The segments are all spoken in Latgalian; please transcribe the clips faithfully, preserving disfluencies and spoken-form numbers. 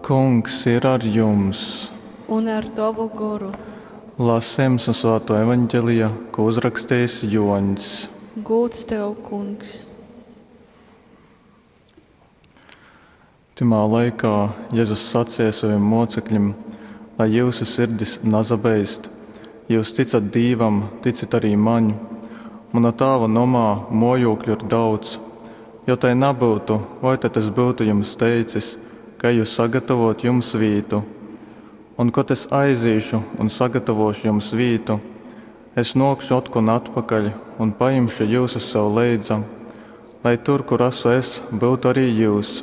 Kungs ir ar jums! Un ar tovu goru. Lasījums no Svēto evaņģelija, ko uzrakstījis Joņs. Gūds tev, Kungs! Tymā laikā Jezus sacīja saviem mocekļiem, lai jūsu sirdis nazabeist. Jūs ticat Dīvam, ticit arī maņ. Mana tāva nomā mojūkļu ir daudz. Jo tai nebūtu, vai tad es būtu jums teicis, ka eju sagatavot jums vītu? Un, kad es aizīšu un sagatavošu jums vītu, es nokšu otkon atpakaļ un paimšu jūs sev leidza, lai tur, kur esmu es, būtu arī jūs.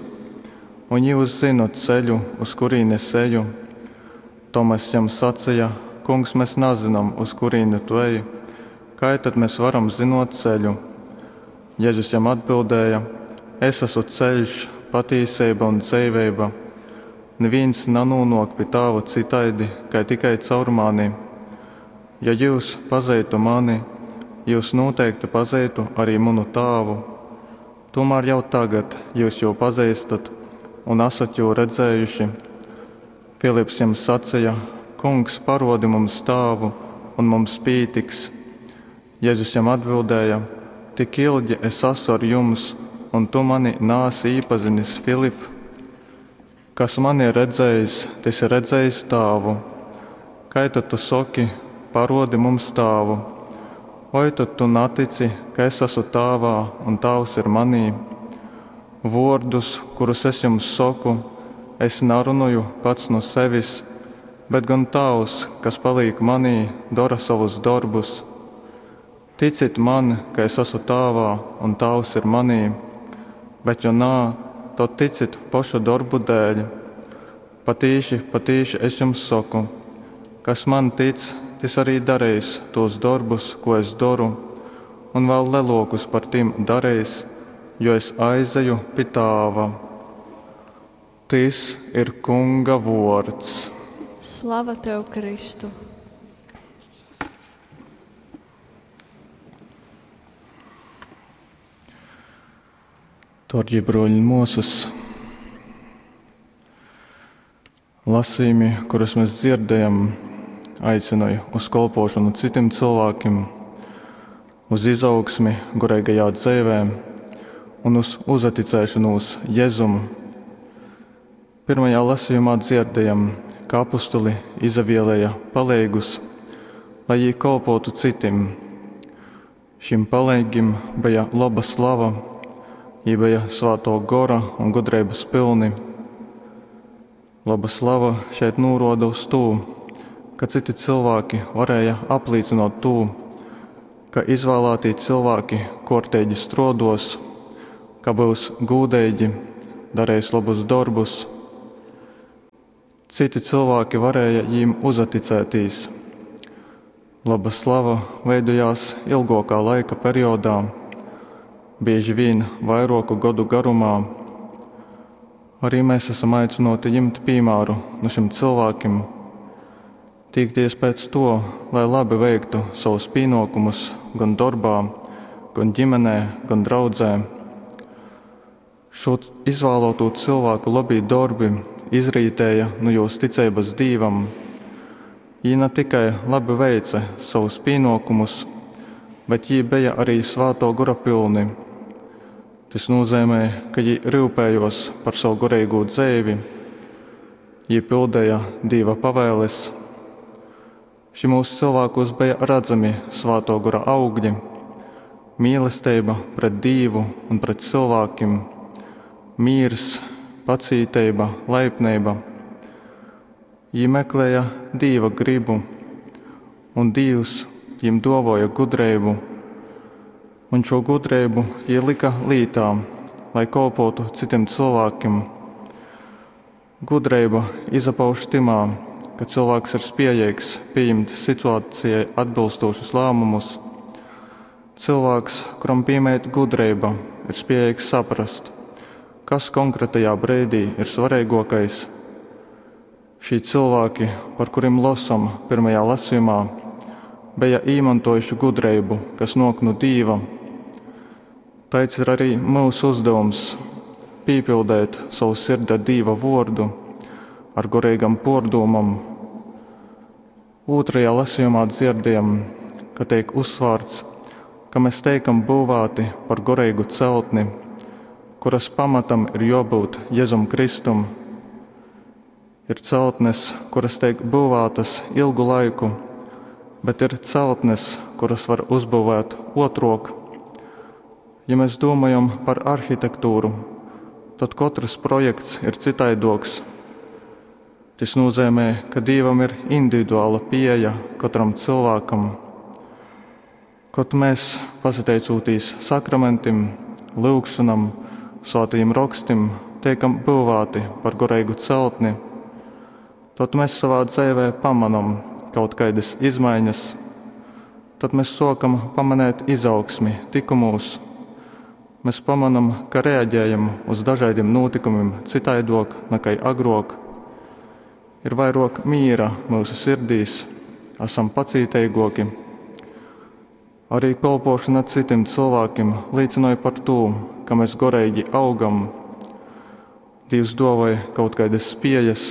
Un jūs zinat ceļu, uz kurīni es eju. Tomas jam sacīja: Kungs, mēs nezinām, uz kurīni tu ej, kā tad mēs varam zinot ceļu? Jēzus jam atbildēja: Es esmu ceļš, patīsība un dzīvība. Neviens nanonok pie tāva citaidi, kai tikai caur mani. Ja jūs pazeitu mani, jūs noteikti pazeitu arī manu tāvu. Tomēr jau tagad jūs jū pazīstat un esat jū redzējuši. Filips jam sacīja: Kungs, parodi mums tāvu, un mums pītiks. Jēzus jam atbildēja: Tik ilgi es esmu ar jums, un tu mani nāsi īpazinis, Filip. Kas mani ir redzējis, tas ir redzējis tāvu. Kai tad tu soki, parodi mums tāvu? Vai tad tu netici, ka es esmu tāvā un tāvs ir manī? Vārdus, kurus es jums saku, es narunoju pats no sevis, bet gan Tēvs, kas paliek manī, dara savus darbus. Ticit man, ka es esmu Tēvā un Tēvs ir manī, bet jo nā, tad ticit pašu darbu dēļ. Patīši, patīši es jums saku, kas man tic, tas arī darīs tos darbus, ko es daru, un vēl lielākus par tiem darīs, jo es aizeju pie Tāva. Tis ir Kunga vārds. Slava tev, Kristu! Darbie broļi un māsas, lasījumi, kurus mēs dzirdējam, aicināja uz kolpošanu citiem cilvēkiem, uz izaugsmi garīgajā dzīvē un uz uzticēšanos Jēzum. Pirmajā lasījumā dzirdējam, ka apustuli izavielēja palīgus, lai jī kolpotu citim. Šim palīgim bija laba slava, jī bija svēto gora un gudrības pilni. Laba slava šeit nūroda uz to, ka citi cilvēki varēja apliecinot to, ka izvēlētī cilvēki kortīgi strodos, ka būs gūdeigi, darīs labus darbus. Citi cilvēki varēja jīm uzaticētīs. Laba slava veidojās ilgākā laika periodā, bieži vien vairoku gadu garumā. Arī mēs esam aicināti ņemt piemēru no šiem cilvēkiem, tīkties pēc to, lai labi veiktu savus pienākumus gan darbā, gan ģimenē, gan draudzē. Šo izvēlēto cilvēku labī darbi izrītēja no jūs ticības Dīvam. Jī ne tikai labi veica savus pienākumus, bet jī bija arī svēto gora pilni. Tas nozīmē, ka jī rūpējos par savu garīgo dzīvi, jī pildīja Dieva pavēles. Šimūs cilvēkos bija redzami svēto gora augļi, mīlestība pret Dievu un pret cilvēkiem, mīrs, pacītība, laipnība. Jī meklēja Dieva gribu, un Dievs jiem dovoja gudrību, un šo gudrību jī lika lītā, lai kolpotu citiem cilvēkiem. Gudrība izpauž timā, ka cilvēks ir spējīgs pieņemt situācijai atbilstošus lēmumus. Cilvēks, kuram piemīt gudrība, ir spējīgs saprast, kas konkrētajā brīdī ir svarīgākais. Šī cilvēki, par kuriem lasām pirmajā lasījumā, bija īmantojuši gudrību, kas nāk no Dieva. Tāds ir arī mūsu uzdevums – pīpildēt savu sirdi ar Dieva vārdu, ar goreigam puordūmom. Ūtrajā lasejumā dzierdējam, ka teik uzsvārts, ka mes teikam byuvāti par goreigu celtni, kuras pamatam ir juobyut Jezum Kristum. Ir celtnes, kuras teik byuvātas ilgu laiku, bet ir celtnes, kuras var uzbyuvēt uotruok. Ja mes dūmojam par arhitektūru, tod kotrys projekts ir cytaiduoks. Tys nūzeimej, ka Dīvam ir individuala pīeja kotram cylvākam. Kod mes, pasateicūtīs sakramentim, lyugšonam, svātajim rokstim, teikam byuvāti par goreigu celtni, tod mes sovā dzeivē pamanom kaut kaidys izmaiņas. Tad mes suokam pamanēt izaugsmi tykumūs. Mes pamonam, ka reaģējam uz dažaidim nūtykumim cytaiduok nakai agruok. Ir vairuok mīra myusu sirdīs, asam pacīteiguoki. Arī kolpuošona cytim cylvākim līcynoj par tū, ka mes goreigi augam. Dīvs duovoj kaut kaidys spiejas,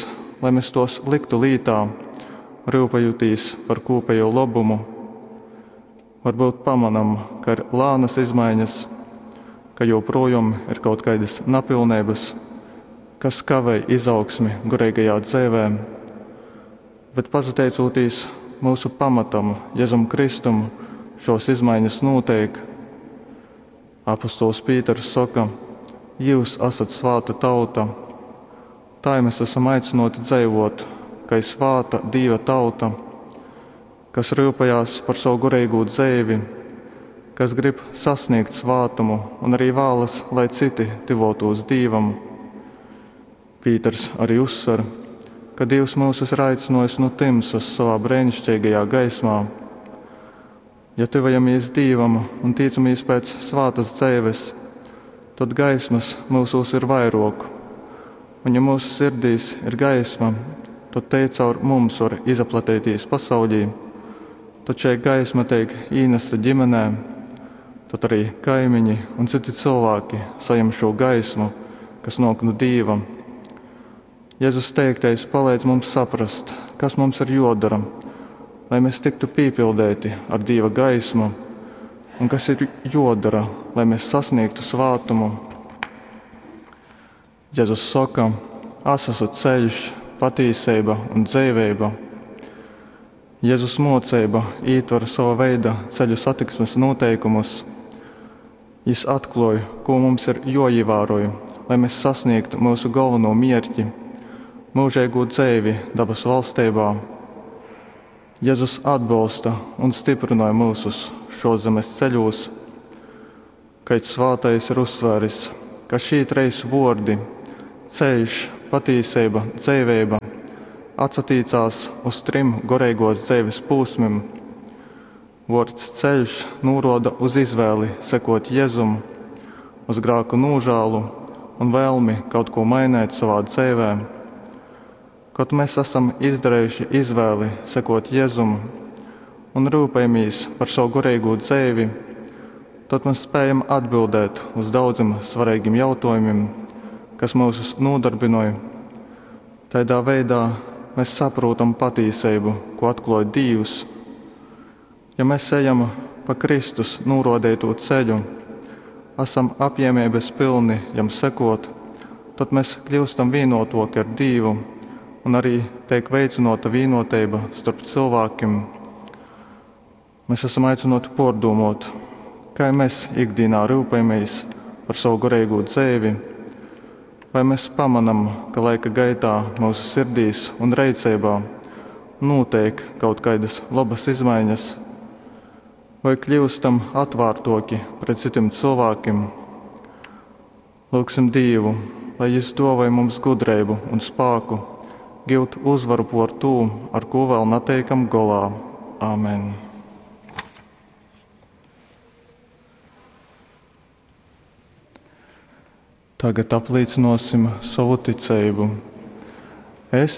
lai mes tuos lyktu lītā, ryupejūtīs par kūpējo lobumu. Varbyut pamonam, ka ir lānas izmaiņas, ka joprojom ir kaut kaidys napilneibys, kas kavej izaugsmi goreigajā dzeivē. Bet pasateicūtīs myusu pamatam, Jezum Kristum, šuos izmaiņas nūteik. Apostols Pīters soka: Jius asat svāta tauta. Tai mes asam aicynuoti dzeivuot, kai svāta Dīva tauta, kas ryupejās par sovu goreigū dzeivi, kas grib sasniegt svātumu un arī vālas, lai cyti tyvuotūs Dīvam. Pīters arī uzsver, ka Dīvs myusus ir aicynuojis nu tymsas sovā breiniškeigajā gaismā. Ja tyvojamīs Dīvam un tīcamīs pēc svātas dzeives, tod gaismas myusūs ir vairuok. Un ja myusu sirdīs ir gaisma, tod tei caur mums var izaplateitīs pasaulī. Tod šei gaisma teik īnasta ģimenē, tod arī kaimiņi un cyti cylvāki sajem šū gaismu, kas nuok nu Dīva. Jezus teiktais paleidz mums saprast, kas mums ir juodora, lai mēs tiktu pīpildeiti ar Dīva gaismu, un kas ir juodora, lai mēs sasniegtu svātumu. Jezus soka: Es esmu ceļš, patīseiba un dzeiveiba. Jezus muoceiba ītver sova veida ceļu satiksmes nūteikumus. Jis atkluoj, kū mums ir juoīvāroj, lai mēs sasniegtu myusu golvonū mierki – myužeigū dzeivi dabas valsteibā. Jezus atbolsta un styprynoj myusus šuos zemes ceļūs. Kaids svātais ir uzsvēris, ka šī treis vuordi – ceļš, patīseiba, dzeiveiba – atsatīcās uz trim goreiguos dzeives pūsmim. Vuords ceļš nūruoda uz izvēli sekot Jezum, uz grāku nūžālu un vēlmi kaut ko mainēt sovā dzeivē. Kod mēs asam izdarējuši izvēli sekot Jezum un rūpējamīs par savu goreigū dzeivi, tod mēs spējam atbildēt uz daudzim svareigim jautuojumim, kas myusus nūdarbynoj. Taidā veidā mēs saprūtam patīseibu, ko atkluoj Dīvs. Ja mēs ejam pa Kristus nūruodeitū ceļu, asam apjiemeibys pylni jam sekot, tod mēs kļiustam vīnuotuoki ar Dīvu un arī teik veicynuota vīnuoteiba storp cylvākim. Mēs esam aicynuoti puordūmuot, kai mēs ikdīnā ryupejamīs par sovu goreigū dzeivi, vai mēs pamanam, ka laika gaitā myusu sirdīs un reiceibā nūteik kaut kaidys lobys izmaiņas, voi kļiustam atvārtuoki pret cytim cylvākim. Lyugsim Dīvu, lai Jis duovoj mums gudreibu un spāku giut uzvaru puor tū, ar kū vēl nateikam golā. Āmen. Tagad aplīcynuosim sovu ticeibu. Es